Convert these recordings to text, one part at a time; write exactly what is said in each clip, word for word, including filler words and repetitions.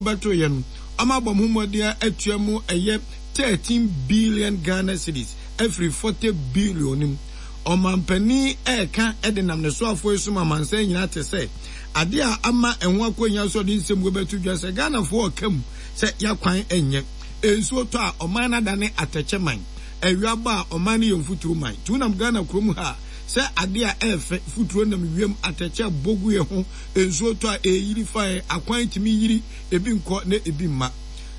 Bɛto yɛ no, ɔmo abɔ mo ho mmɔden atua mu ɛyɛ thirteen billion Ghana cedis afiri forty billion nim. Ɔmampanin ɛɛka ɛde nam ne soafoɔ yi so ma amansan nyinaa te sɛ adeɛ a ama ɛho akɔnya so ɔde nsɛm wo bɛto dwa sɛ Ghanafoɔ ɔka mu sɛ yɛakwan ɛnyɛ nsuo tɔ a, ɔman no adane atɛkyɛ man, awia bɔ a, ɔman no yɛ mfuturo man. Nti wonam Ghana kurom ha a, sɛ adeɛ a ɛɛfɛ, futuro nam wiem, atɛkyɛ bɔ gu yɛ ho, nsuo tɔ a, ɛyiri fa yɛ akwan tumi yiri, ebi nkɔ na ebi mma.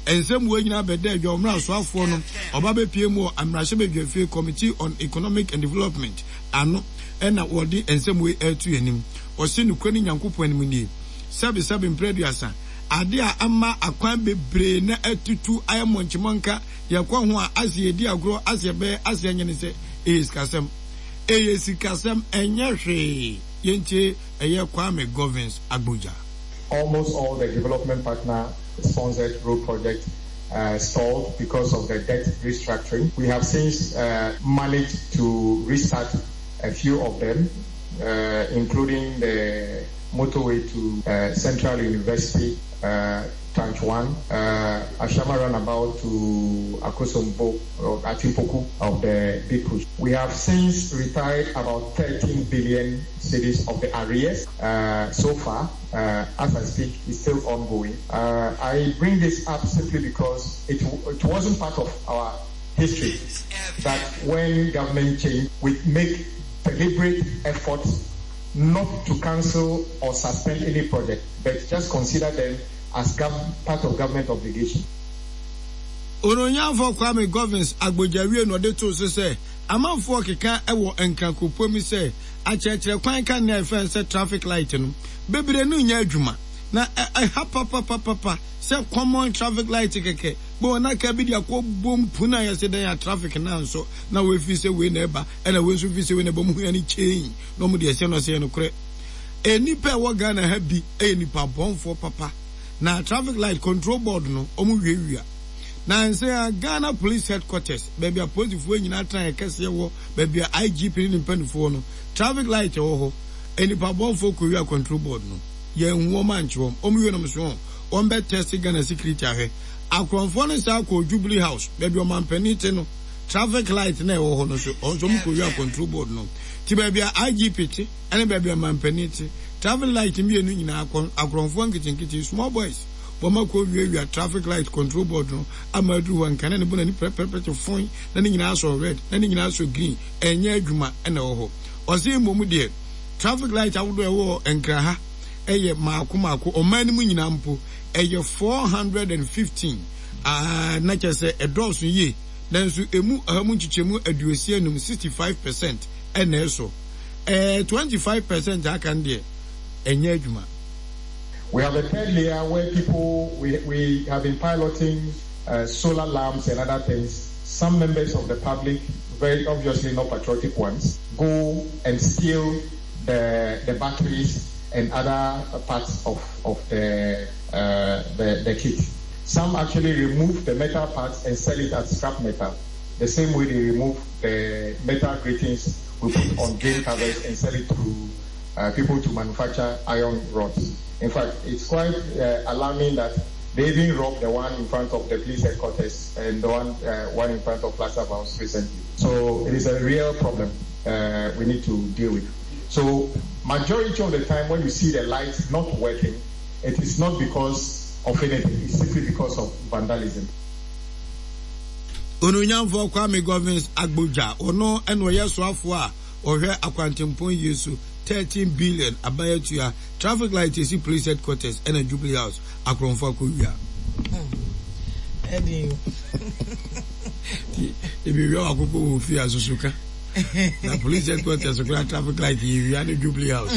Nsɛm wɔ nyinaa bɛda adwa ɔmmerɛ asoafoɔ no ɔba bɛpie mu wɔ mmarahyɛbadwafie Committee on Economic and Development ano, ɛna wɔde nsɛm wei ɛreto anim. Ɔse nokura ne Nyankopɔn anim nie, sɛbesɛbe mprɛ aduasa, ade a ama akwan bebree na atutu ayɛ mmɔnkyemɔnka, yɛkɔ ho a ase yɛdi agorɔ, ase yɛbɛyɛ ase yɛnyɛ ne sɛ ɛyɛ sikasɛm, ɛyɛ sikasɛm, ɛnyɛ hwee. Yɛntie ɛyɛ Kwame Govins Agbodza. Almost all the development partner sponsored road projects uh, stalled because of the debt restructuring. We have since uh, managed to restart a few of them, uh, including the motorway to uh, Central University, uh, Tranche one, uh, Ashaiman Runabout to Akosombo, or Atimpoku of the Big Push. We have since retired about thirteen billion cedis of the arrears uh, so far. Uh, as I speak, it's still ongoing. Uh, I bring this up simply because it, it wasn't part of our history that when government changed, we make deliberate efforts not to cancel or suspend any project, but just consider them as gov- part of government obligation. Ononyamfo Kwame Govins Agbodza wie na ɔde too so sɛ amanfoɔ keka ɛwɔ nkrankopɔ mu sɛ akyerɛkyerɛ kwan ka nea ɛfɛn sɛ traffic light no bebree no nyɛ adwuma na ɛha papapapapa sɛ common traffic light kɛkɛ bɛ wɔn aka bi de akɔ bom pun a yɛsɛ dɛn a traffic na nso na wɔafi sɛ wei na ɛba, ɛna wei nso fi sɛ wei na ɛba mu hua ne chain na wɔn de ɛsɛ no sɛ yɛ nokorɛ. Nnipa a ɛwɔ Ghana ha bi yɛ nipa bɔnfoɔ papa na traffic light control board no wɔn wiawia na nsɛn a Ghana Police Headquarters, baabi a polisifoɔ nyinaa tena yɛ kɛseɛ wɔ, baabi a I G P ne ne mpanimfoɔ no, traffic light wɔ hɔ, nipa bɔnfoɔ kɔ wia control board no. Yɛn hu wɔn ankye wɔn, wɔn wie nom so wɔn bɛ test Ghana security ahwɛ. Akorɔmfoɔ no saa kɔ Jubilee House, baabi ɔmampanin te no, traffic light na ɛwɔ hɔ no so ɔno nso wɔn kɔ wia control board no. Ti baabi a I G P te ɛne baabi a ɔmampanin te, traffic light mmienu nyinaa, akorɔmfoɔ nketenkete, small boys, wɔn akɔ wiawia traffic light control board no ama aduru hɔ nkane ne bo n'ani pɛrɛpɛrɛ te fɔn na ne nyinaa sɔ red na ne nyinaa sɔ green, ɛnyɛ adwuma. Ɛna ɛwɔ hɔ ɔsɛ mmom deɛ traffic light ahodoɔ ɛwɔ Nkra ha ɛyɛ maako maako, ɔman no mu nyinaa mpo ɛyɛ four hundred and fifteen, na kyerɛ sɛ ɛdɔɔso yie, nanso emu ɔha mu nkyekyɛmu aduosia num, sixty five percent, ɛna ɛsɔ ɛɛ twenty five percent aka no deɛ ɛnyɛ adwuma. We have a third layer where people, we, we have been piloting uh, solar lamps and other things. Some members of the public, very obviously not patriotic ones, go and steal the, the batteries and other parts of, of the, uh, the, the kit. Some actually remove the metal parts and sell it as scrap metal. The same way they remove the metal gratings we put on drain covers and sell it to uh, people to manufacture iron rods. In fact, it's quite uh, alarming that they even robbed the one in front of the police headquarters and the one, uh, one in front of Plaza House recently. So it is a real problem uh, we need to deal with. So majority of the time when you see the lights not working, it is not because of anything, it's simply because of vandalism. Onunyamfoɔ Kwame Govins Agbodza, ɔno ɛna ɔyɛ soafoɔ a ɔhwɛ akwantempɔn yie so. thirteen billion abayatua, traffic light esi police headquarters ɛna Jubilee House, akorɔmfo akɔwia. Ɛdi ebi wia wakoko wɔ fie asoso ka na police headquarters kora traffic light yɛ wia ne Jubilee House.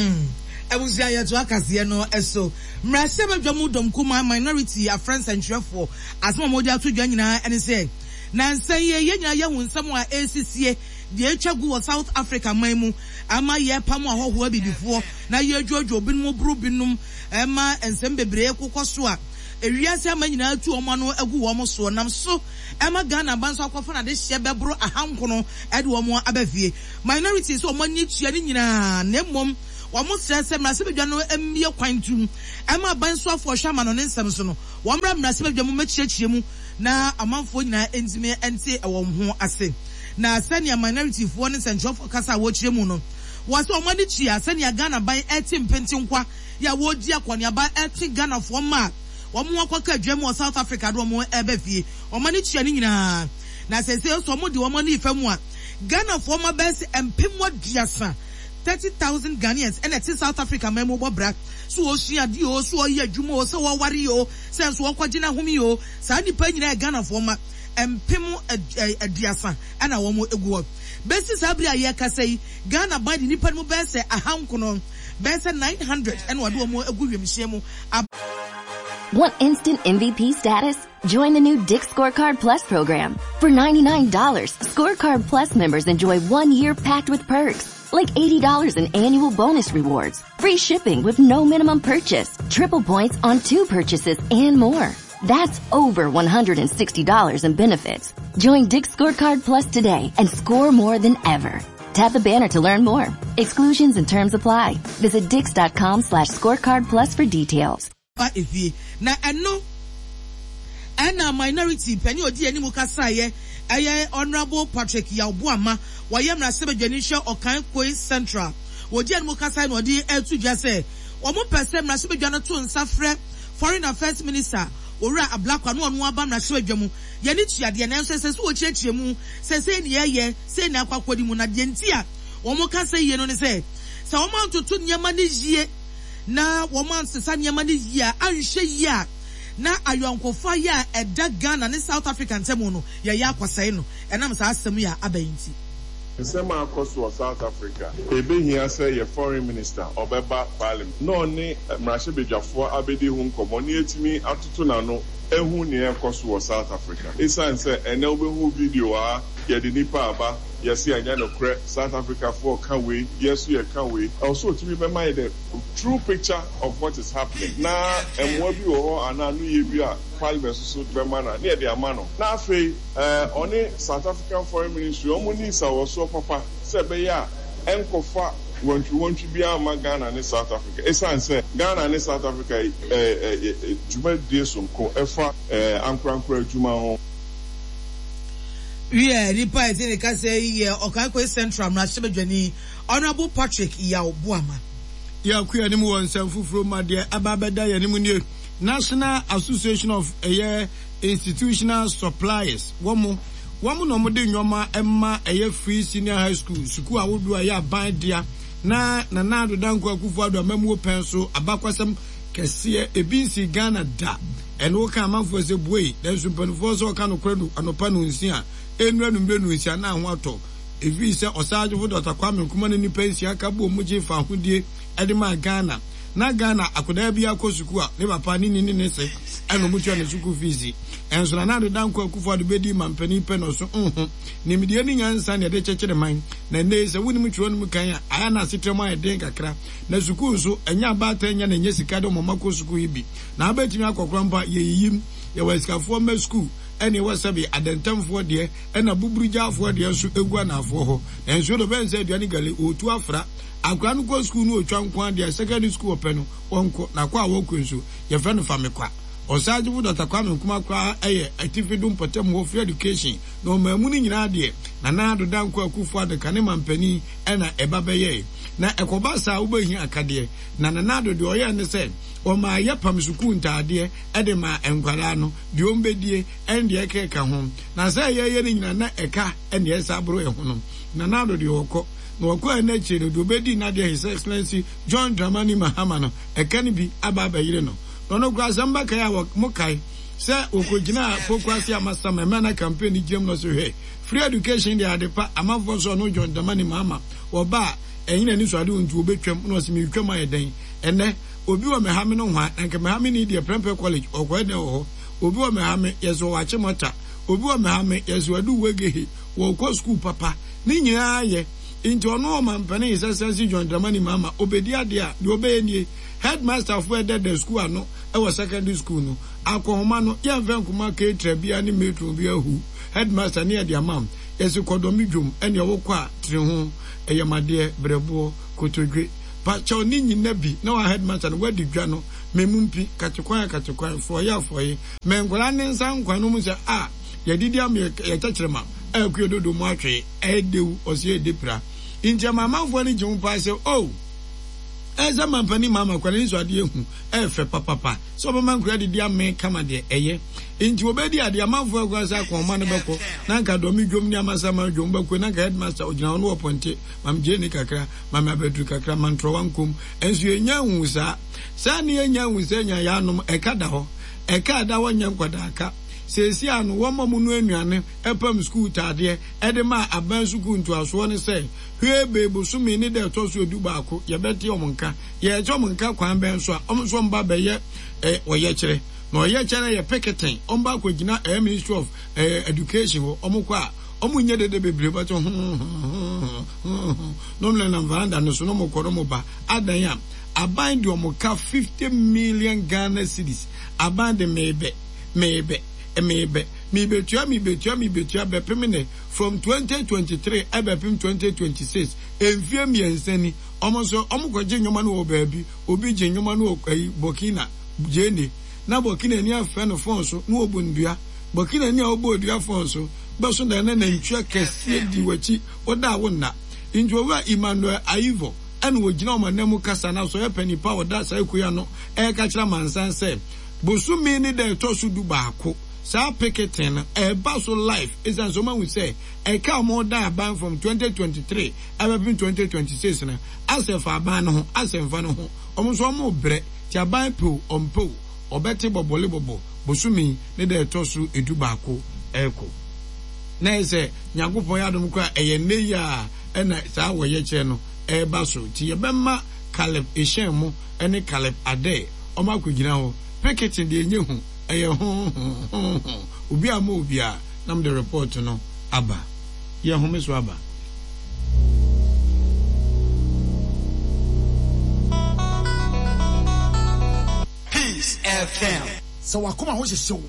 Abusua, yɛto akaseɛ no so. Mmarahyɛbadwa mu dɔm kuma minority afrɛ nsɛntwerɛfoɔ. Asɛm a wɔde ato dwa nyinaa ɛne sɛ nansa yi yɛn nyinaa yɛhu nsɛm a ɛresisie deɛ atwa gu wɔ South Africa man mu ama yɛpam ahɔhoɔ abibifoɔ na yɛdwodwo binom boro binom, ɛma nsɛm bebree kokɔ so a ewiase ama nyinaa tu wɔn ano agu wɔn soɔ, nam so ɛma Ghana ba nso akɔfa n'ade hyɛ bɛboro ahankono ɛde wɔn aba fie. Minority sɛ wɔn ani tua ne nyinaa, na mmom Wɔn srɛ sɛ mmarahyɛbadwa no mmue kwan ntum mma aban soafoɔ ɔhwɛ amanɔne nsɛm so no, wɔmmra mmarahyɛbadwa mu mmɛkyerɛkyerɛ mu na amanfoɔ nyinaa ntumi nte wɔn ho ase. Na sɛnea minority foɔ ne nsɛnkyerɛwfoɔ kasa a wɔkyerɛ mu no, wɔ sɛ wɔn ani tua sɛnea Ghana ban ɛte mpentenkwa yɛ a wɔredi akɔneaba ɛtwe Ghanafoɔ mma a wɔn akɔka adwuma mu wɔ South Africa de wɔn ɛreba fie. Wɔn ani tua ne nyinaa. Na seesei nso wɔn de wɔn ani refa mu a, Ghanafoɔ mma bɛyɛ sɛ mpem aduasa, thirty thousand Ghanaians, ɛna ɛte South Africa man mu bɔ bra. So wɔresua adeɛ o, so wɔreyɛ adwuma o, sɛ wɔreware o, sɛ nso wɔrekɔgye n'ahome o, saa nnipa nyinaa yɛ Ghanafoɔ mma mpem aduasa ɛna wɔn gu hɔ. Bɛsi saa bere a yɛrekasa yi, Ghana ban de nnipa no mu bɛyɛ sɛ ahankono, bɛyɛ sɛ nine hundred ɛna wɔde wɔn agu wiemhyɛn mu. Want instant M V P status? Join the new Dick's Scorecard Plus program. For ninety-nine dollars, Scorecard Plus members enjoy one year packed with perks, like eighty dollars in annual bonus rewards, free shipping with no minimum purchase, triple points on two purchases, and more. That's over one hundred sixty dollars in benefits. Join Dick's Scorecard Plus today and score more than ever. Tap the banner to learn more. Exclusions and terms apply. Visit dicks.com slash scorecard plus for details. Na ɛno ɛna minority panyin odi anim kasaeɛ ɛyɛ Honorable Patrick Yaw Boamah, wɔyɛ mmarahyɛbadwani hwɛ Okaikwei Central. Wɔdi anim kasaeɛ na ɔde ɛto dwa sɛ wɔn pɛ sɛ mmarahyɛbadwa no to nsa frɛ Foreign Affairs Minister Owura Ablakwa na ɔno aba mmarahyɛbadwa mu. Yɛne tuadeɛ nanso ɛsɛ sɛ wɔkyerɛkyerɛ mu sɛ sɛ ne yɛyɛ sɛ ne akɔ akɔdi mu na deɛ nti a wɔn kasa yie no ne sɛ sɛ wɔn antoto nneɛma no yie na wɔn ansesa nneɛma no yie a anhwɛ yie a na ayɔnkofa yɛ a ɛda Ghana ne South Africa ntam no yɛyɛ akɔsɛe no ɛnam saa asɛm yi a aba yi nti. Nsɛm a akɔ so wɔ South Africa, ebehia sɛ yɛ foreign minister ɔbɛba parliament na ɔne mmarahyɛbadwafoɔ abɛdi ho nkɔmmɔ na yɛtumi atoto n'ano ehu nea ɛkɔ so wɔ South Africa. Esiane sɛ ɛnɛ wobɛhu video a yɛde nipa aba yɛse ɛnyɛ nokorɛ South Africafoɔ ka wei yɛso yɛka wei ɛwɔ sɛ otumi bɛma yɛ the true picture of what is happening na mmoa bi wɔ hɔ anaa no yɛ bi a parliament nso bɛma na ne yɛde ama no na afei ɔne South African Foreign Ministry ɔmo ni nsawɔsoɔ papa sɛ ɛbɛyɛ a ɛnkɔfa wɔntwi-wɔntwi biara mma Ghana ne South Africa. Esiane sɛ Ghana ne South Africa dwumadie sonko ɛfa ankorankora adwuma ho. Wiɛ, nipa a ɛte ne kasa yi yɛ Okaikwei Central mmarahyɛbadwani Honorable Patrick Yaw Boamah. Yɛakɔ anim wɔ nsɛm foforɔ mu adeɛ aba abɛda yɛn anim nie. National Association of ɛyɛ Institutional Suppliers wɔn wɔn na wɔde nneɛma ɛma ɛyɛ free senior high school sukuu ahodoɔ a ɛyɛ aban dea na Nana Addo Dankwa Akufo-Addo amamuo pɛn so abakwasɛm kɛseɛ ebi nsi Ghana da ɛno woka amanfoɔ sɛ buei nanso mpanimfoɔ sɛ ɔka nokorɛ no anɔpa no nsia enura no mmerɛ no nsia na ho atɔ efi sɛ ɔsagyefo Doctor Kwame Nkrumah ne nipa nsia ka bɔ mu gye fa ahodie ɛde maa Ghana na Ghana akwadaa bi akɔ sukuu a ne papa ne ne ne ne se ɛna ɔmo tua ne sukuu fees ɛnso Nana Addo Dankwa Akufo-Addo bɛdi mampanin pɛ na ɔso nho nimdeɛ ne nyansa na yɛde kyekyere man na nnɛ sɛ wonim twerɛ no mu kan a ayɛ na asetena mu ayɛ den kakra na sukuu nso ɛnyɛ abaatan nya na ɛnyɛ sika de ɔmo kɔ sukuu yi bi na abɛtumi akɔkora mpo a yɛyiyim yɛwɔ asikafoɔ mma sukuu ɛne ɛwɔ sɛbe adantamfoɔ deɛ ɛna buburugyafoɔ deɛ nso egu anaafoɔ hɔ na nsuo de ɔbɛn sɛ aduane gale ɔtu afra akora no kɔ sukuu no ɔtwa nko adeɛ secondary school ɔpɛ no wɔnkɔ na akɔ a wɔkɔ nso yɛfrɛ no famekwa ɔsagyefo Doctor Kwame Nkrumah koraa ɛyɛ atifi do mpɔtam hɔ free education na ɔman mu no nyinaa deɛ Nana Addo Dankwa Akufo-Addo kane mampanin ɛna ɛba bɛyɛe na ɛkɔba saa wobɛhia akadeɛ na Nana Addo deɛ ɔyɛɛ ne sɛ ɔmaa yɛpam sukuu ntaadeɛ ɛde ma nkwadaa no deɛ ɔmbɛdie ɛne deɛ ɛkeka ho na sɛ yɛyɛ no nyinaa na ɛka ɛne ɛsa aboro ɛho no Nana Addo deɛ ɔkɔ na ɔkɔ ɛna akyire no deɛ ɔbɛdi n'adeɛ His Excellency John Dramani Mahama no ɛka no bi aba abɛyere no na ɔno koraa asɛm bɛkae a mokae sɛ wɔkɔgyina Pokuase Amasaman mmerɛ na campaign no gyina mu no so hwɛ free education deɛ ade pa amanfoɔ nso ɔno John Dramani Mahama wɔba a ɛnyina ni so ade nti wɔbɛtwam na ɔsɛ metwam ayɛ dɛn ɛnɛ obi wɔ mɛhame no hwa na nka mɛhame ni deɛ Prempeh College ɔkɔɛ dɛn wɔ hɔ obi wɔ mɛhame yɛsɛ wɔakye mɔta obi wɔ mɛhame yɛsɛ wɔadu wegehe wɔkɔ sukuu papa ne nyinaa yɛ nti ɔno ɔmampanin His Excellency John Dramani Mahama obɛdi adeɛ a deɛ ɔbɛyɛ nie headmaster foɔ ɛdɛdɛ sukuu ano ɛwɔ secondary school no akɔhoma no yɛmfɛ nkoma keetra bia ne matron bi ahu headmaster ne yɛde ama yɛsɛ kɔdɔmi dwom ɛne ɔwɔ kɔ a tiri ho ɛyɛmadeɛ brɛboɔ kotodwe Pa kyɛw ne nyina bi na wa headmaster no wadi dwa no memu mpi katekwan katekwan frɔye afrɔye mɛ nkwadaa ne nsa nkwan no mu sɛ a yɛdidi am yɛkyɛkyerɛ ma ɛkuo dodo mu atwe ɛdew ɔsi ɛde pira nti ama amanfoɔ no gye ho paa sɛ oh ɛsɛ mampanin maama kwan ne nso adeɛ hu ɛfɛ papapa sɛ ɔbɛma nkura didi ame kama deɛ ɛyɛ nti obɛdi adeɛ amanfoɔ akura sɛ akɔnma no bɛkɔ na nka dɔmi dwom ne amasama dwom bɛkɔ na nka headmaster ogyina hɔ no wɔ pɔnte mam gye ne kakra mam abɛduru kakra mam ntorɔwa nkom nso yɛnya hu saa saa ne yɛnya hu sɛ nya yɛanom ɛka da hɔ ɛka da hɔ nyɛ nkwadaa ka seesi ano wɔn a mu no anuane ɛpam sukuu taadeɛ ɛde ma aban sukuu ntoasoɔ ne sɛ hwee beebosome ne dɛ ɛtɔ so edu baako yɛbɛte ɔmo nka yɛte ɔmo nka kwan bɛn so a ɔmo nso ɔmo ba bɛyɛ ɛ ɔyɛkyerɛ na ɔyɛkyerɛ yɛ picketing ɔmo ba akɔgyina ɛyɛ ministry of ɛɛ education hɔ ɔmo kɔ a ɔmo nyɛ dede bebree bɛtɛ ho ho ho ho na ɔmo nenam veranda no so na ɔmo kɔ na ɔmo ba adan a aban de ɔmo ka fifty million Ghana cedis aban de meebɛ meebɛ meebɛ meebetua meebetua meebetua bɛpem ne from twenty twenty three ɛbɛpem twenty twenty six mfie mmiɛnsa ni ɔmo nso ɔmo kɔgye nnwoma no wɔ baabi obi gye nnwoma no wɔ ɛyi Burkina gyeene na Burkina ni afɛ no phone so na wɔbɔ ndua Burkina ni a wɔbɔ odua phone so bɛso da na nantwie kɛseɛ di w'akyi wɔda a wɔnna nti owura Emmanuel Ayivo ɛna wɔgyina wɔn anan mu kasa na so ɔyɛ panyin pa a ɔda saa ekuya no ɛreka kyerɛ amansan sɛ bosome ne da ɛtɔ so du baako saa picketing no ɛba so live ɛsiane sɛ ɔmahu sɛ ɛka a wɔn da aban from twenty twenty three ɛbɛpem twenty twenty six no asɛ fa aban no ho asɛ nfa no ho wɔn nso wɔn brɛ ti aban pew ɔmpew ɔbɛte bɔbɔle bɔbɔ bosome ne da ɛtɔ so edu baako ɛɛkɔ na yɛ sɛ nyankopɔn yɛ adom koraa ɛyɛ nne yi a ɛna saa wɔyɛ kyerɛ no ɛɛba so nti yɛbɛma Caleb Ehyɛn mo ɛne Caleb Ade ɔmo akɔgyina hɔ picketing deɛ enye ho ɛyɛ ho ho ho ho obi a mo obi a nam de report no aba yɛ home so aba. Peace F M. Sɛ wakoma ho hyehye wo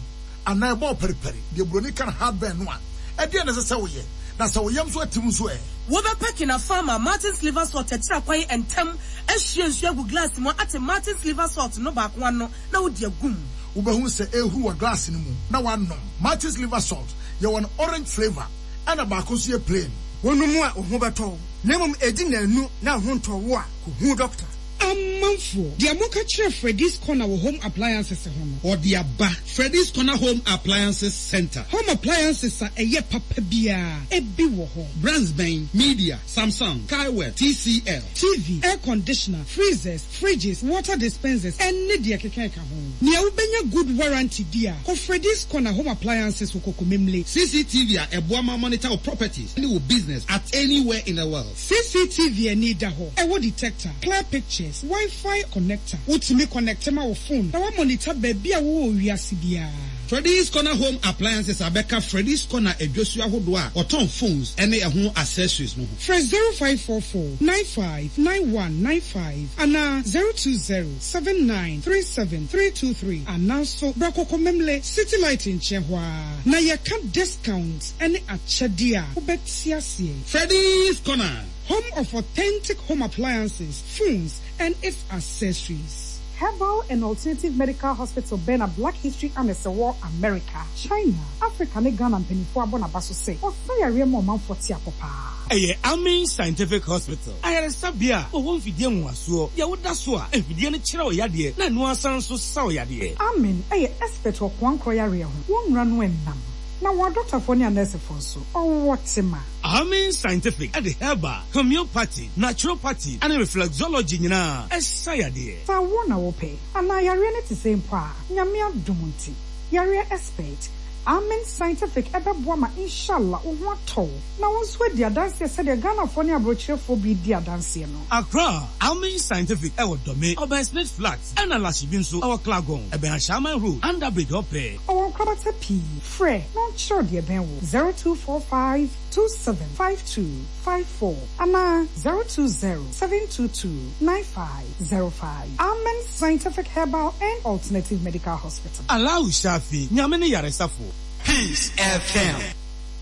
anaa ɛbɔ periperi deɛ buroni ka no heartburn no a ɛdeɛ na ɛsɛ sɛ woyɛ na sɛ wo yam so atim nso ɛ. Wobɛpɛ Kinapharma Martin's Liver Salt akyira kwan ntɛm ahyia nsuo agu glass mu ate Martin's Liver Salt no baako ano na wode agum. Wobɛhu sɛ ɛhuru wɔ glass no mu na wanom. Martin's Liver Salt yɛwɔ no orange flavour ɛna baako nso yɛ plain. Wonom a wo ho bɛtɔ wo na mmom ɛdi nnanu na wo ho ntɔ wo a kɔhu doctor. Amanfoɔ, deɛ moka kyerɛ Freddy's Corner wɔ home appliances ho no. Ɔde aba Freddy's Corner Home Appliances Center. Home appliances a ɛyɛ papa biara ebi wɔ hɔ. Brands bɛn, Midea, Samsung, Kaiwew, T C L. T V, air conditioner, freezers, fridges, water dispensers, ɛne deɛ keka ɛka ho. Nea wobɛnya good warranty di a, kɔ Freddy's Corner Home Appliances wɔ Kokomemle. C C T V a ɛboa ma monitor wo properties ne wo business at anywhere in the world. C C T V ani da hɔ, ɛwɔ detector, clear pictures, Wi-Fi connector. Wotumi connect ma wo phone na wa monitor baabi a wowɔ wiase biara. Freddy's Corner Home Appliances abɛka Freddy's Corner adwosuo ahodoɔ a ɔtɔn phones ne ɛho accessories no ho. Frɛ zero five four four nine five nine one nine five anaa zero two zero seven nine three seven three two three anaa nso bra Kokomemle City Light nkyɛn hɔ a na yɛka discount ne akyɛdeɛ a wobɛte aseɛ. Freddy's Corner, home of authentic home appliances, phones and its accessories. Herbal and Alternative Medical Hospital bɛn Black History Annex wɔ America, China, Africa ne Ghana mpanimfoɔ abɔ n'aba so sɛ ɔsa yareɛ ma ɔmanfoɔ te apɔ paa. Ɛyɛ Amin Scientific Hospital. Ayaresabea a wɔwɔ mfidie nwowasoɔ deɛ woda so a mfidie no kyerɛ wo yadeɛ na ɛno asan nso sa wo yadeɛ. Amin ɛyɛ expert wɔ koankorɔ yareɛ ho. Wɔn nnura no ɛnam. Na wɔn adɔktafoɔ ne anɛɛsefoɔ nso, ɔwɔ tema. Amin Scientific ɛde herbal, homeopathy, naturopathy ɛne reflexology nyinaa ɛsa yadeɛ. Sɛ wo na wopɛ anaa yareɛ no te sɛ mpo a, Nyame adom nti, yareɛ expert, Amin Scientific ɛbɛboa ma inshallah wo ho atɔ wo na wo nso adi adanseɛ sɛdeɛ Ghanafoɔ ne aborɔkyerɛfoɔ bi di adanseɛ no. Accra, Amin Scientific ɛwɔ Dome, ɔbɛn Smith Flat, ɛna Lashibi nso ɛwɔ Clagon, ɛbɛn Ashaiman Road, Underbridge ɔpɛ. Ɔwɔ nkorabata pii, frɛ na ɔnkyerɛw deɛ ɛbɛn wo zero two four five two seven five two five four anaa zero two zero seven two two nine five zero five. Amin Scientific Herbal and Alternative Medical Hospital. Allahu Shafi, Nyame ne yaresafo. Peace F M.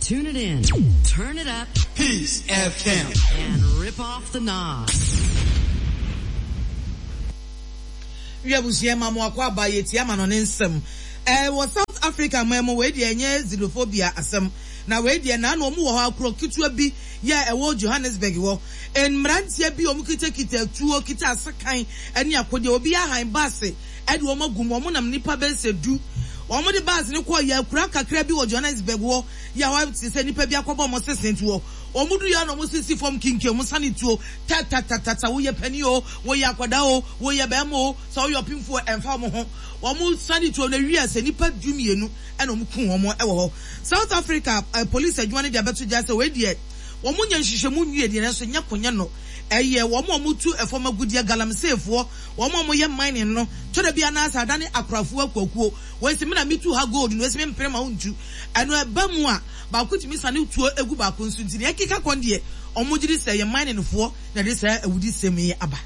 Tune it in, turn it up, Peace F M, and rip off the knob. Wi abusua ma mo akɔ aba yɛtie ama no ne nsɛm. Ɛɛ wɔ South Africa man mu, wei deɛ ɛnyɛ xenophobia asɛm. Na wei deɛ naano wɔn wɔ hɔ akuro ketewa bi yɛ ɛwɔ Johannesburg hɔ. Mmeranteɛ bi wɔn kitakita tuo, kita asekan ne akodeɛ. Obi ahan baase ɛde wɔn agu mu. Wɔn nam nipa bɛyɛ sɛ du. Wɔn de baase no kɔɔ yɛ akura kakra bi wɔ Johannesburg hɔ. Yɛ hɔ te sɛ nipa bi akɔbɔ wɔn sese nti hɔ. Wɔn du yɛ na wɔn sisi fam kinkin, wɔn sane tuo tatatata. Woyɛ panin o, woyɛ akwadaa o, woyɛ bɛrima o, sɛ woyɛ ɔpemfoɔ ɛmfa wɔn ho. Wɔn sane tuo na wie sɛ nipa du mmienu ɛna wɔn kum wɔn ɛwɔ hɔ. South Africa eh, police adwuma no de abɛto gya sɛ wei deɛ wɔn nyɛ nhyehyɛmu nwie deɛ, nanso nyɛ konyɛ no ɛyɛ wɔn a wɔtu ɛfam agudeɛ, galamseyfoɔ, wɔn a wɔyɛ mining no tɔrɔ bi anaasɛ adane akorafoɔ akuakuo. Wɔn si mi na mi tu ha gold no, esi mi mpere ma ntu ɛno ɛba mu a baako tumi sane tuo egu baako nso. Nti deɛ ɛkeka kɔn deɛ, wɔn gye di sɛ ɛyɛ mining foɔ na ɛde saa awudi sɛm yi aba.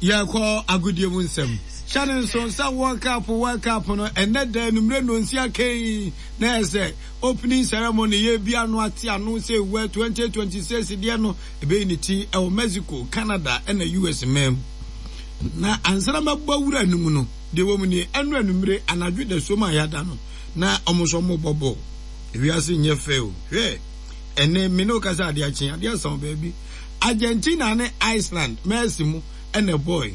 Yɛkɔ agodie mu nsɛm. Hyɛ ne nso sɛ World Cup, World Cup no, ɛnɛ da anummerɛ nonsia kɛn na ɛsɛ opening ceremony yɛ bi ano ate ano sɛ ewura twenty twenty-six deɛ no ɛbɛyi ne ti ɛwɔ Mexico, Canada ɛna U S mam. Na ansana mɛbɔ wura no mu no deɛ wɔ mu nie, ɛno anummerɛ anadwo da som a yɛada no na ɔmo nso ɔmo bɔ bɔɔl. Ewiase nyɛ fɛ o. Hwɛ, ɛnɛ me ne wo kasa, adeɛ akye, adeɛ asa wɔ baabi. Argentina ne Iceland, Messi mu ɛna bɔɔl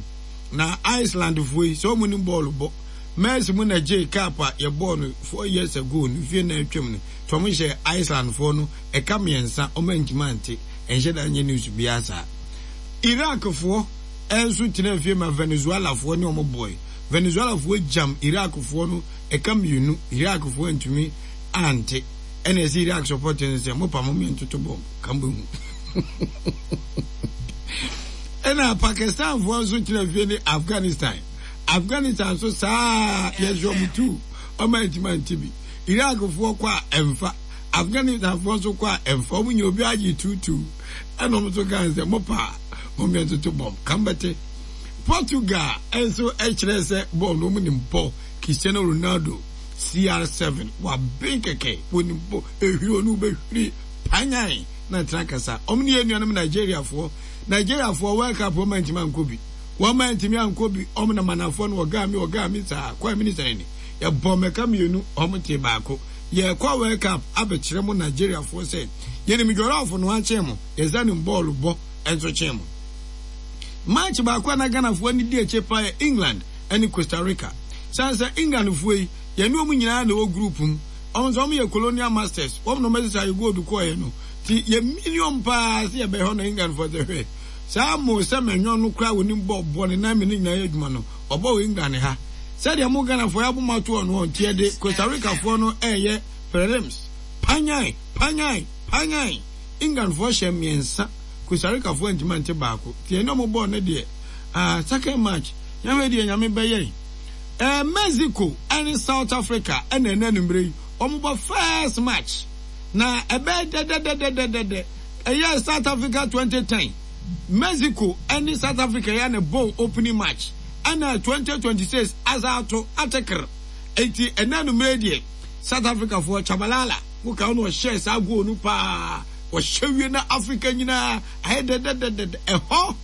na Iceland foɔ yi sɛ ɔmo ni bɔɔl bɔ. Messi mu na gye cup a yɛbɔɔ no four years ago no fie na atwam no tí ɔmo hyɛ Iceland foɔ no ɛka mmiɛnsa, ɔmo antumi ante. Ɛnhyɛ da nyɛ news biara saa. Iraq foɔ ɛnso tena fie ma Venezuela foɔ ne ɔmo bɔɔl. Venezuela foɔ gyam Iraq foɔ no ɛka mmienu. Iraq foɔ antumi ante. Ɛna ɛsɛ Iraq support no sɛ mo pa mo mmiɛntoto bɔm kan bɛ hu. Ɛna Pakistan foɔ nso tena fie ne Afghanistan. Afghanistan nso saa, yɛsɛ ɔmo tu ɔmo antumi ante bi. Iraq foɔ kɔ a ɛmfa, Afghanistan foɔ nso kɔ a ɛmfa. Ɔmo nyɛ obi agye tuutu. Ɛna ɔmo nso kan sɛ mo pa mo mmiɛntoto bɔm kan bɛte. Portugal nso kyerɛ sɛ bɔɔl no ɔmo nim bɔ. Cristiano Ronaldo, C R seven, waben kɛkɛ, wɔnim bɔ. Ehwiri ɔno bɛhwiri panyan na tena kasa. Ɔmo ne yɛn nuanom Nigeriafoɔ. Nigeriafoɔ World Cup wɔn antumi ankɔ bi, wɔn antumi ankɔ bi. Ɔmo na manafoɔ no ɔgaa mi ɔgaa mi saa kwan mi ni sɛn ni yɛbɔ mɛka mmienu, ɔmo te baako. Yɛkɔ World Cup abɛkyerɛ mo Nigeriafoɔ sɛ yɛnim jollof no akyɛn mo, yɛsa nim bɔɔlo bɔ nso kyɛn mo. Match baako a na Ghanafoɔ ani di akyire paa yɛ England ne Costa Rica. San sɛ Englandfoɔ yi, yɛne wɔn nyinaa na ɛwɔ group mu. Ɔmo nso ɔmo yɛ colonial masters, wɔn na ɔmo sisa yɛ gold kɔɔɛ no ti yɛ million paa sɛ yɛbɛhɔ na Englandfoɔ sɛ hwɛ saa mo sɛ mɛnyɔ no koraa wɔnim bɔ bɔ ne nan mi ne nyinaa yɛ adwuma no ɔbɔ wɔ England ha sɛdeɛ mo Ghanafoɔ yɛ aboma to ɔno nti yɛde Costa Rica foɔ no ɛɛyɛ prelims. Panyan panyan panyan, Englandfoɔ hyɛ mmiɛnsa, Costa Rica foɔ ntoma nte baako. Nti ɛne ɔmo bɔɔl no deɛ, ah, second match yɛhwɛ deɛ Nyame bɛyɛ. ɛɛ Mexico ɛne South Africa ɛna ɛna anumere yi ɔmo bɔ first match na ɛbɛyɛ dɛdɛdɛdɛdɛdɛ. Ɛyɛ South Africa twenty ten, Mexico ɛne South Africa yɛ ne bɔ opening match ɛna twenty twenty-six asa ato atekere. Eti ɛna anumere deɛ, South Africa foɔ Chabalala woka ɔno ɔhyɛ saa goal no paa, ɔhyɛ wie na Africa nyinaa ayɛ dɛdɛdɛdɛ. Ɛhɔ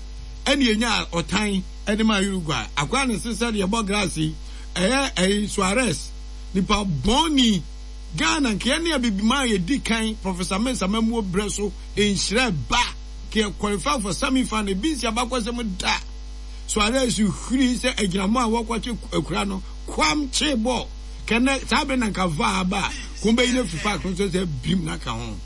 ɛne enya ɔtan ɛde ma Uruguay akora ne se sɛdeɛ ɛbɔ grass yi ɛyɛ ɛyi Suarez nipa bɔnni. Ghana nkeɛ ne abibiman a yɛdi kan Professor Mensa Mamuo brɛ so nhyerɛ ba keɛ qualify for semi final ebi nsi abakɔsɛm da. Suarez hwiri sɛ agyinamo a wɔkɔkye akura no kwam kye bɔɔl kɛnɛ saa bere na nka vaa aba a kɔn bɛyi no afiri park no so sɛ bim na ka ho.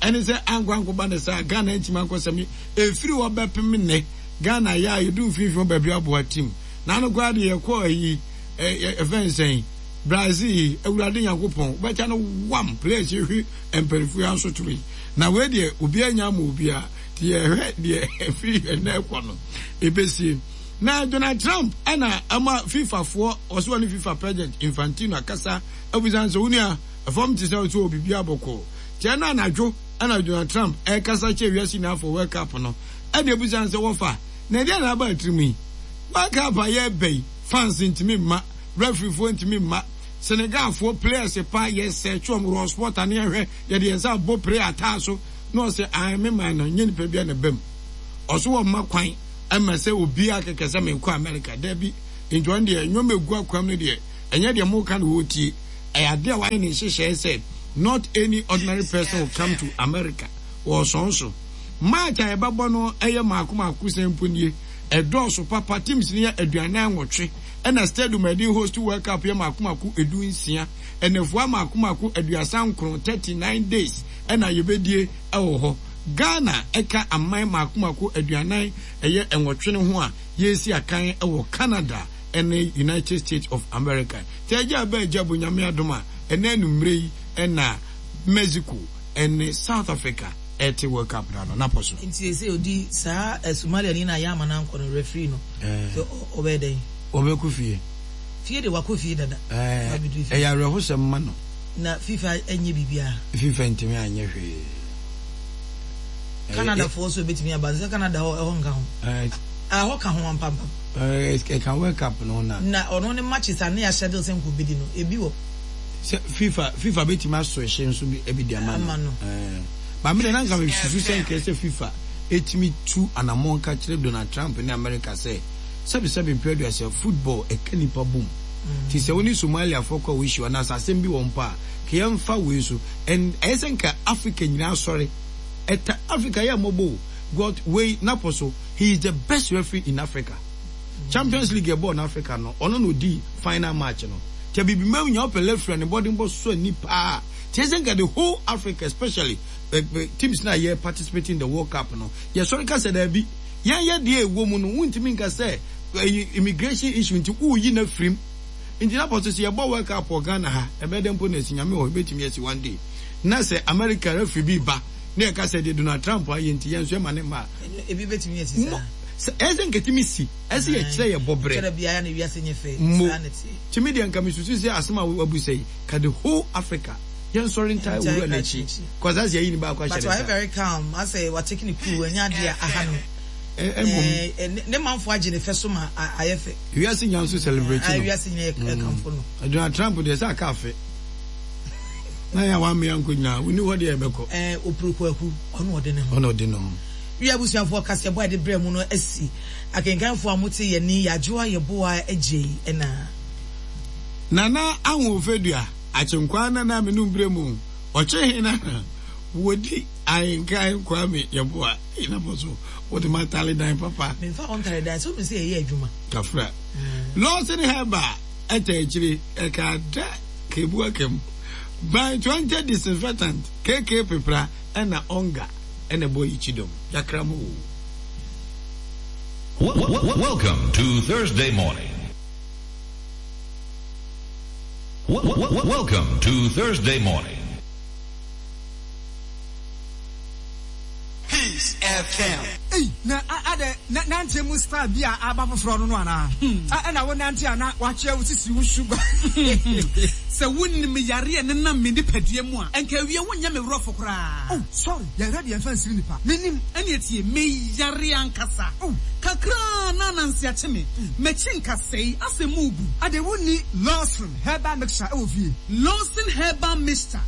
Ɛne sɛ ankɔ ankɔba ne saa Ghana ntumi ankɔ sɛmi efiri hɔ bɛpem nnɛ. Ghana yɛ a yɛdu mfimfini hɔ baabi aboa team n'ano koraa de yɛkɔ ayi ɛfɛn sɛn Brazil. Awurade Nyankopɔn wobɛkyɛ no wam players hwehwe mpanimfoɔ yi asotoro yi na wei deɛ obiara nya ama obiara nti yɛhwɛ deɛ ɛfiri ɛnɛ ɛkɔ no ɛbɛsie. Na Donald Trump ɛna ama FIFA foɔ ɔso ɔne FIFA President Infantino akasa abusan sɛ wo nua ɛfam te sɛ ɔsɛ wɔ biribi abɔkɔɔ kyɛ no anadwo. Ɛna Donald Trump ɛkasa kyerɛ wiase nyinaa for World Cup no ɛna ebusan sɛ wɔfa na ɛdeɛ na aba atirim yi. World Cup a yɛreba yi, fans ntumi mma, referee foɔ ntumi mma, Senegalfoɔ players pa yɛsɛ twɛm raw sport ane ɛhwɛ yɛde yɛn nsa abɔ play ataa so na ɔsɛ ae me man no nyɛ nipa bi a na bɛm. Ɔso wɔ mma kwan ɛma sɛ obiara kɛkɛ sɛ menkɔ America dabi. Nti ɔno deɛ nneɛma egu akwam no deɛ ɛnyɛ deɛ mo ka no wɔtie. Ɛyɛ adeɛ a wayɛ ne nhyehyɛe sɛ not any ordinary person will come to America. Wɔsɔn so. Match a yɛbɛbɔ no ɛyɛ maako maako sɛn mpo nie. Ɛdɔɔso papa teams no yɛ aduanan nwɔtwe ɛna stadium a yɛde host World Cup yɛ maako maako edu nsia. Ɛnɛfoa maako maako aduasa nkron thirty nine days ɛna yɛbɛdie ɛwɔ hɔ. Ghana ɛka aman maako maako aduanan ɛyɛ nwɔtwe no ho a yɛsi akan ɛwɔ Canada ɛne United States of America. Tí ɛgya abɛ agya bo Nyame adom a ɛnɛ anummerɛ yi ɛna Mexico ɛne South Africa ɛte World Cup na no napɔ so. Nti sɛ odi saa Somalia ni na yɛ ama na nkɔ no referee no. Sɛ ɔbɛyɛ dɛn? Ɔbɛkɔ fie. Fie de wakɔ fie dada. Ɛyɛ awerɛhosɛm ma no. Na FIFA ɛnyɛ biribiara. FIFA ntumi anyɛ hwee. Canada foɔ so ebetumi aba sɛ Canada hɔ ɛhɔ nka ho. Ɛhɔ ka ho ampampam. Ɛka World Cup no na. Na ɔno ne matches a ne yɛ schedule sɛ nkɔ bedi no ebi wɔ. Sɛ FIFA FIFA betumi asɔ ɛhyɛ nso bi ebi di ama no. Ama no. Maame de nanka me susu sɛ nkɛ sɛ FIFA etumi tu anammɔn ka kyerɛ Donald Trump ne America sɛ sɛbi sɛbi mpɛ aduasa football ɛka nipa bom. Ti sɛ wo ne Somaliafoɔ kɔ a wɔahyia anaasɛ asɛm bi wɔ mpo a ka yɛmfa wei so. And ɛyɛ sɛ nka Africa nyinaa sɔre. Ɛta Africa yɛ mmɔbɔ o. God wei napɔ so he is the best referee in Africa. Champions League ɛbɔɔ no Africa no ɔno na odi final match no. Kyɛ bibi ma nya ɔpɛ referee a ne bɔden bɔ so ani paa. Kyɛ sɛ nka the whole Africa especially uh, teams na yɛ participating in the World Cup no yɛsɔre ka sɛ daabi yɛn yɛ deɛ ɛwɔ mu no wontumi nka sɛ immigration issue nti woyi na firim nti na pɔtɔ sɛ yɛbɔ World Cup wɔ Ghana ha ɛbɛyɛ dɛ mpo na esi Nyame wɔ ebɛtumi asi one day na sɛ America referee bi ba na yɛka sɛ deɛ Donald Trump ayɛ nti yɛn nso yɛma ne mma ebi bɛtumi asi saa sɛ ɛsɛ nketumi si ɛsɛ yɛkyerɛ yɛ bɔbrɛ kyerɛ biara na wiase nyɛ fɛ mo saa na tie tumi deɛ nka mesusu sɛ asɛm a wabu sɛ yi ka the whole Africa yɛn sɔre ntaa owura n'akyi kɔsa sɛ yɛyi ne baako ahyɛ but ne wayɛ nsa very calm asɛ wa take ne cool ɛnyɛ adeɛ a aha no mmom ɛɛ ne manfo agye ne fɛ so ma ayɛ fɛ wiase nya nso celebrate no wiase nyɛ ɛkamfo no Donald Trump deɛ sɛ aka afe na yɛ a wammea nkɔ nyinaa woni hɔ deɛ ɛbɛkɔ ɛɛ opuru kwaku ɔno ɔde ne ho ɔno ɔde ne ho wia abusuafoɔ kaseɛbɔ a yɛde brɛ mu no asi akenkanfoɔ a mote yɛ ni yɛadwoa yɛboa agye ɛna Nana Ahoɔfɛdua akyenkwaa nana menum berɛ mu ɔkye he na wɔdi ahenkan Kwame Yɛboa ɛnabɔ so wode matale dan papa memfa wo ntare dan sɛ wonim sɛ yɛyɛ adwuma kafra Lawson Herbal ɛta akyire ɛka da kebu akam by twenty disinfectant K K pepra ɛna ɔnga ɛna ɛbɔ yi kyidɔm yakra mu o. Welcome to Thursday morning. Welcome to Thursday morning. Peace F M. Ei, na adɛ na nante mu style bi a aba foforɔ no no anaa? Ɛna wo nante a na wakyerɛ wo sisi wo sugar. Sɛ wonim yare a nenam me nipadua mu a, ɛnka awie wonyɛ me worɔfo koraa. Oh, sorry, yɛhwɛ deɛ mfa nsiri nipa. Menim. Ɛne tie, meyare ankasa. Oh. Kakraa na ananse akye me. M'akyi nkasɛe, asɛ mu bu. Ade wonni Lawson Herbal Mixture ɛwɔ fie? Lawson Herbal Mixture,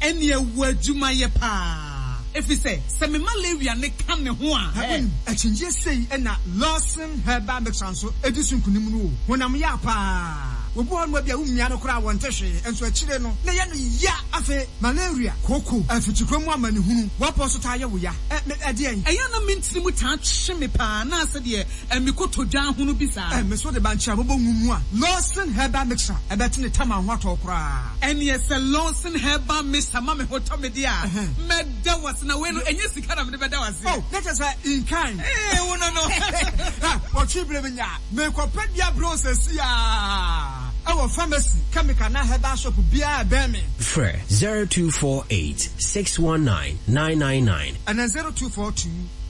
ɛne ɛwɔ adwumayɛ paa. Ɛfiri sɛ, sɛ me malaria ne ka ne ho a. Wonim, akyinnyie sei ɛna Lawson Herbal Mixture nso ɛdi so nkonim no o. Honam yɛ paa. Obi hɔ nom bi a womia no koraa wɔnte hwee, nso akyire no na yɛ no ya. Afei malaria, kooko, afikyikɔ mu amanehunu, wɔpɔ so taa yɛ wo ya. Ɛ ɛdeɛn? Ɛyɛ na mentiri mu taa twe me paa na asɛ deɛ ɛmekɔtɔ dwa ahono bi saa. Ɛ me so de bankyɛ abobɔ ngu mu a Lawson Herbal Mixture ɛbɛte ne tam a ho atɔ koraa. Ɛneɛ sɛ Lawson Herbal Mixture ma me ho tɔ me deɛ a, mɛda wase na wei no ɛnyɛ sika na mede bɛda wase. Oh, na kyerɛ sɛ in kind. Ee, wo no no. Wɔtwe berɛ me nya. Mekɔpɛ bia berɛ sɛsi a ɛwɔ pharmacy, chemical na herbal shop biara bɛn me. Frɛ zero two four eight, six one nine, nine nine nine. Ɛna zero two four two,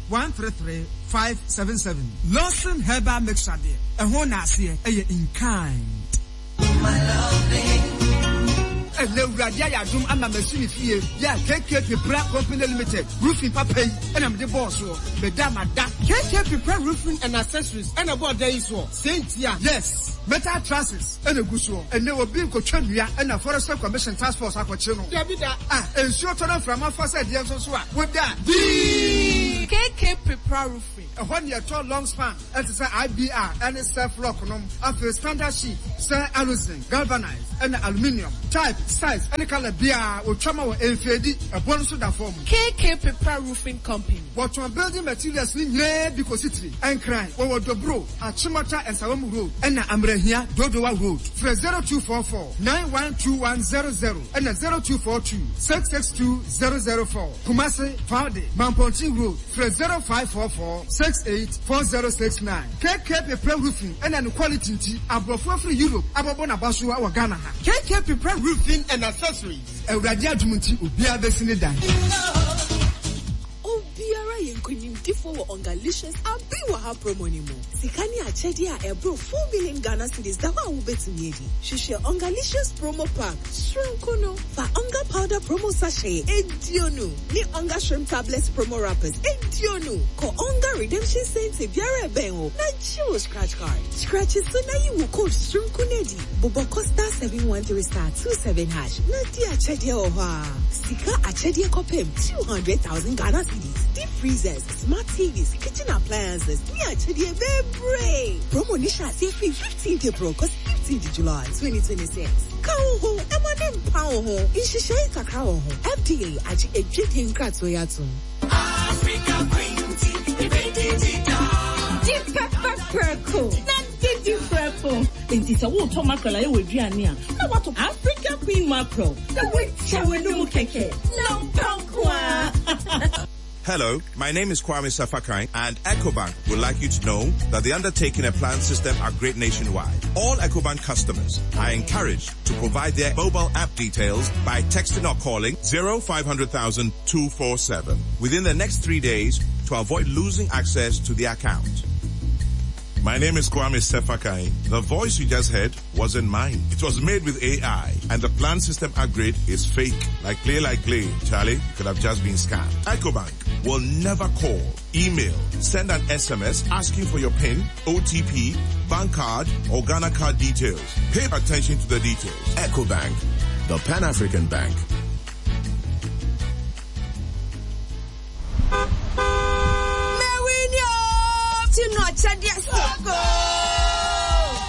one three three, five seven seven. Lawson Herbal Mixture deɛ, ɛho na aseɛ ɛyɛ in kind. Ɛnɛ Awurade ayɛ adom ama masi ne fie yɛ K K Pepra Company Limited roofing papa yi ɛna mede bɔɔ soɔ meda mada. K K Pepra Roofing and Accessories ɛna bɔɔ dan yi soɔ sɛ ntia. Yes, metal trusses ɛna gu soɔ. Ɛnɛ obi nkotwa nnua ɛna Forestry Commission Task Force akɔkye no. Dabi da. Ah, nsuo tɔ na mframa fa sɛ deɛ nso so a woda dii. K K Pepra Roofing. Ɛhɔ ne yɛtɔ long span ɛte sɛ I B R ɛne self lock nom, afei standard sheet sɛ aluzinc, galvanized ɛna aluminium. Type, size ɛne colour biara wɔtwa ma wɔ ɛmfeedi ɛbɔ no so da fam. K K Pepra Roofing Company. Wɔtɔn building materials ne nyinaa bi kɔsi tiri. Ɛnkran wɔwɔ Dobro, Achimota Nsawam Road ɛna Amrahia Dodowa Road. Frɛ zero two four four nine one two one zero zero ɛna zero two four two six six two zero zero four. Kumasi, Faude, Mampontin Road, frɛ zero five four four six eight four zero six nine. K K Pepra Roofing ɛna ne quality nti aborɔfo afiri Europe abɔbɔ n'aba so wɔ Ghana ha. K K Pepra Roofing and Accessories. Awurade adum nti obiara bɛsi ne dan. Obiara yɛ nkonimdifoɔ wɔ Ongalicious Abi Wɔ Ha promo ni mu. Sika ne akyɛdeɛ a ɛboro four million Ghana cedis da hɔ a wobɛtumi adi. Hwehwɛ Ongalicious promo pack soronko no. Fa Onga powder promo sachet eduonu ne Onga shrimp tablets promo wrappers eduonu. Kɔ Onga redemption center biara ɛbɛn wo na gye wo scratch card. Scratch so na yi wo code soronko no adi. Bobɔ kɔ star seven one three star two seven hash na di akyɛdeɛ wɔ hɔ a. Sika akyɛdeɛ kɔpem two hundred thousand Ghana cedis. Deep freezers, smart T Vs, kitchen appliances, ne akyɛdeɛ bebree. Promo ni hyɛ aseɛ firi fifteenth April kɔsi fifteenth July twenty twenty-six. Ka wo ho, ɛma ne mpa wo ho. Nhyehyɛe kakra wɔ ho. F D A agye adwadie nkratoɔ yi atom. Africa Queen Di pepper prɛko na didi prɛko. Nti sɛ wotɔ mackerel a ɛwɔ aduane a, na wato Africa Queen mackerel na woakyɛ w'anum kɛkɛ na mpa nko a. Hello, my name is Kwame Sefa Kayi, and EcoBank would like you to know that they're undertaking a planned system upgrade nationwide. All EcoBank customers are encouraged to provide their mobile app details by texting or calling zero five hundred thousand two four seven within the next three days to avoid losing access to the account. My name is Kwame Sefa Kayi. The voice you just heard wasn't mine. It was made with A I, and the planned system upgrade is fake. Like play, like play. Charlie, you could have just been scammed. EcoBank will never call, email, send an S M S asking for your PIN, O T P, bank card, or Ghana card details. Pay attention to the details. EcoBank, the Pan-African Bank. Mewin Tino akyɛdeɛ soko.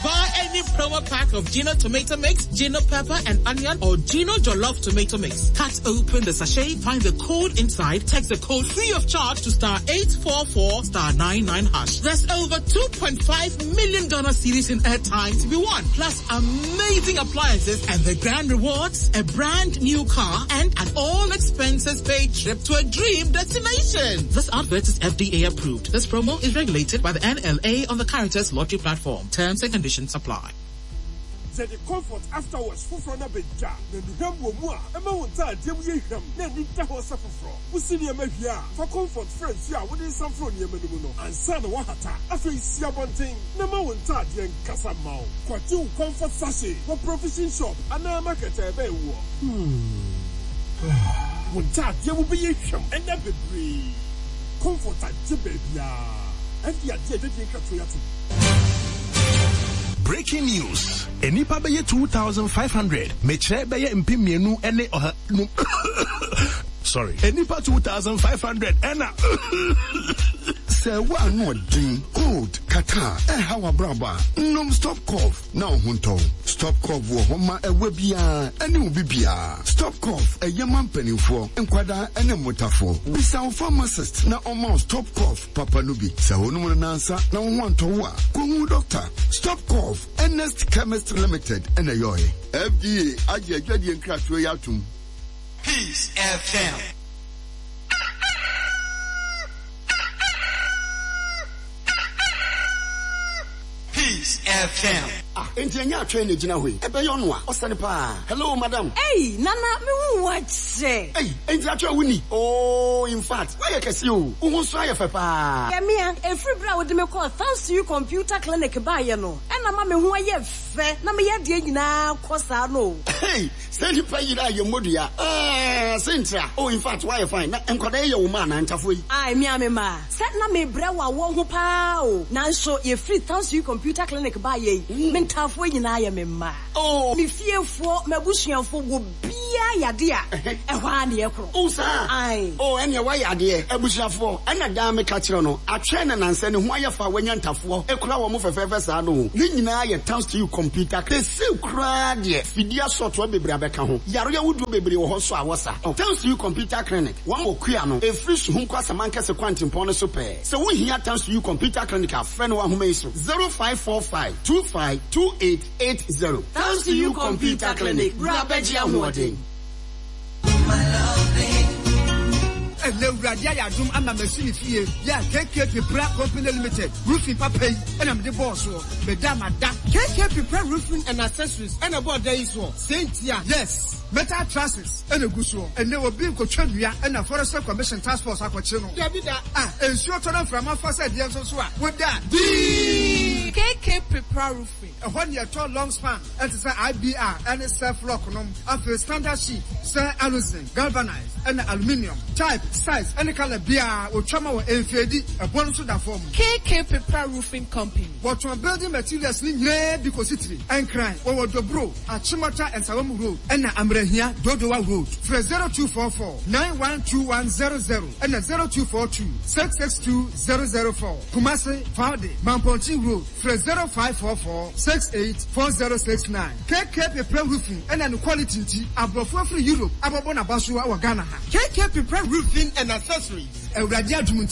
Buy any promo pack of Gino tomato mix, Gino pepper and onion, or Gino jollof tomato mix. Cut open the sachet, find the code inside, text the code free of charge to star eight four four star nine nine hash. There's over two point five million Ghana cedis in airtime to be won, plus amazing appliances and the grand rewards, a brand new car and an all expenses paid trip to a dream destination. This advert is F D A approved. This promo is regulated by the N L A on the Caritas Lottery platform. Terms and conditions apply. Sɛ de Comfort Afterwash foforɔ no abɛgya na nnuhwam wɔ mu a ɛma wo ntaadeɛ mu yɛ hwam na ani da hɔ sɛ foforɔ. Wosi nneɛma wie a, fa Comfort fra nsuo a wode nsa mforo nneɛma no mu no ansa na woahata. Afei si abɔnten na ma wo ntaadeɛ nkasa ma wo. Kɔgye wo Comfort sachet wɔ provision shop anaa market a ɛbɛn woɔ. Wo ntaadeɛ mu bɛyɛ hwam ɛnɛ bebree. Comfort agye baabiaa ɛde adeɛ adwadie nkratoɔ yi atom. Breaking news. Enipa bɛyɛ two thousand five hundred. Mekyerɛ bɛyɛ mpem mmienu ne ɔha num. Sorry. Enipa two thousand five hundred ɛna. Sɛ woano ɔden, cold, catarrh ɛha w'abrabɔ a, nom Stop Cough na wo ho ntɔ wo. Stop Cough wɔ hɔ ma ɛwɔ biara ɛne wo bibiara. Stop Cough ɛyɛ ma mpanimfoɔ, nkwadaa ɛne mmotafoɔ. Bisa wo pharmacist na ɔma wo Stop Cough papa no bi. Sɛ wonom no nansa na wo ho antɔ wo a, kɔhu doctor. Stop Cough, Ernest Chemist Limited ɛna ɛyɔɛ. F D A agye adwadie nkratoɔ yi atom. Peace F M. Peace F M. Ah, enti ɛnyɛ atwɛn na egyina hɔ yi. Ɛbɛyɛ ɔno a, ɔsɛne paa. Hello, madam. Ei, Nana, me hu wo akyɛ. Ei, enti atwɛn wo ni. Oh, in fact, woayɛ kɛse o. Wo ho nso ayɛ fɛ paa. Yɛmea, ɛfiri berɛ a wode me kɔɔ Thanks to You Computer Clinic baeɛ no, ɛna ma me ho ayɛ fɛ na meyɛ adeɛ nyinaa kɔ saa no. Hey, sɛ nipa yiri a yɛ mmɔdua. Ah, sentira. Oh, in fact, woayɛ fine. Na nkwadaa yi yɛ wo ma anaa ntafoɔ yi? Ai, me a me ma. Sɛ na mebrɛ wɔ awɔ ho paa o. Nanso yɛfiri Thanks to You Computer Clinic baeɛ yi, me Ntaafoɔ nyinaa yɛ me mma. Oh. Me fiefoɔ, m'abusuafoɔ, obiara yade a, ɛhɔ ara na yɛkorɔ. Oh, saa? Ae. Oh, ɛnneɛ woayɛ adeɛ. Abusuafoɔ, ɛna daa meka kyerɛ no, atwɛn na nansa ne ho ayɛ fa a wanya ntafoɔ kura wɔn fɛfɛɛfɛ saa no o. Ne nyinaa yɛ thanks to you computer. Seesei koraa deɛ, fidie asɔɔtoa bebree abɛka ho. Yareɛ ahodoɔ bebree wɔ hɔ nso a wɔsa. Thanks to you computer clinic, wɔn wɔ Kua no, ɛfiri Suhum kɔ Asamankɛse kwantempɔn no so pɛɛ. Sɛ wohia Thanks to you computer clinic a, frɛ no wɔ ahoma yi so, zero five four five two five two eight eight zero. Thanks to you computer clinic, bra bɛgye ahoɔden. Ɛnɛ Awurade ayɛ adom ama masi me fie yɛ a K K Pepra Company Limited roofing papa yi ɛna mede bɔɔ soɔ. Meda mada. K K Pepra Roofing and Accessories ɛna ɛbɔɔ dan yi soɔ. Sɛ ntia, yes, metal trusses ɛna egu soɔ. Ɛnɛ obi nkotwa nnua ɛna Forestry Commission Task Force akɔkye no. Dabi da. Ah, nsuo tɔ na mframa fa sɛ deɛ nso so a, woda. Dii! K K Pepra Roofing. Ɛhɔ ne ɛtɔ long span ɛte sɛ I B R ɛne self lock nom. Afei standard sheet sɛ aluzinc, galvanized ɛna aluminium. Type, size ɛne color biara otwa ma wɔ mfeedi ɛbɔ no nso da fam. K K Pepra Roofing Company. Wɔtɔn building materials ne nyinaa bi kɔsi tiri. Ɛnkran, wɔwɔ Dobro, Achimota Nsawam Road ɛna Amrahia Dodowa Road. Frɛ zero two four four nine one two one zero zero ɛna zero two four two six six two zero zero four. Kumasi, Faude, Mampontin Road. Frɛ zero five four four six eight four zero six nine. K K Pepra Roofing ɛna ne quality nti aborɔfo afiri Europe abɔbɔ n'aba so wɔ Ghana ha. K K Pepra Roofing and Accessories. Awurade adum nti.